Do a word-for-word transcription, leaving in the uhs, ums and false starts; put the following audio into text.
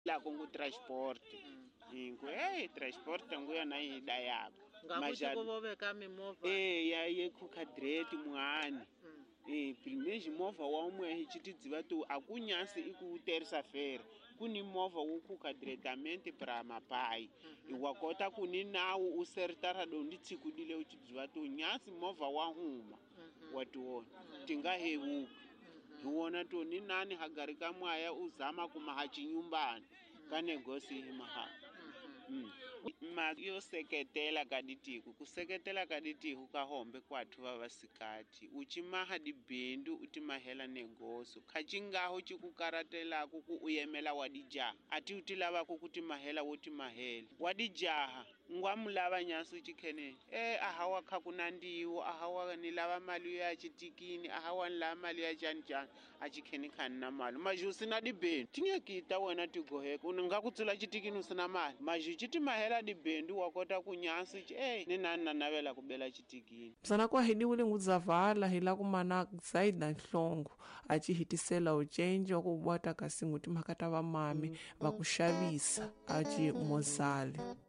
La ku transport ku hey transport ngu yona yi dayaka ngakuti vo veka mimovha eh ya ye khukadireti muhani eh primeji movha wa umwe hi chitidziva tu akunyasi iku terça feira kuni movha wo khukadireta pra mapai wa kota kuni nawu u sertara do ndi tsikudile u chidziva tu nyasi movha wa huma wa tiona tinga hevuka hi wona to ni nani hagarika mwaya uzama kuma hachinyumbani kanegosi hi maha mm. Ma yo seketela ka ditiku ku seketela ka ditiku ka hombe kwathu va vasikati u chimaha dibindu u timahela negoso khachingaho chikukaratelaku ku u yemela wa dijaha ati u ti lavaku ku timahela wo timahela wa dijaha ngwa mulava nyasu chikheneni e ahawa kha kunandiwo ahawa ni lava mali ya chitikini ahawa ni lava mali ya chani chani a chikheni khani na mali maju sina dibindu tingekita wena tigoheka u nga ku tsula chitikini u sina mali maju chitimahela dibindu wa kota ku nyasu e ni nani na navela ku bela chitikini msana kwa hidiwile ngudzavala hila kumana Zaida Nhlongo a chi hitisela uchenji wa ku bwata kasi nguti makata va mami va ku xavisa a chi mozale.